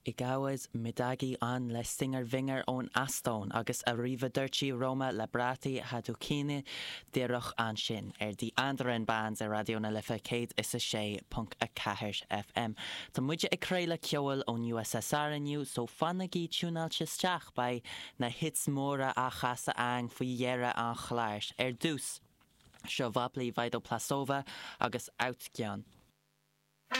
Igavus Midagi ann le Singer Vinger ón Eastóin agus Arrivederci Roma le Brati Hadoukiene díreach ansin ar The Andaran Bands ar Raidió na Life 106.4 FM. Tá muide ag craoladh ceoil ón USSR inniu so fanaigí tiúnáilte isteach, beidh na hits móra á chasadh a'inn faoi dheireadh an chláir. Ar dtús, seo Vopli Vidoplosova agus Autgion.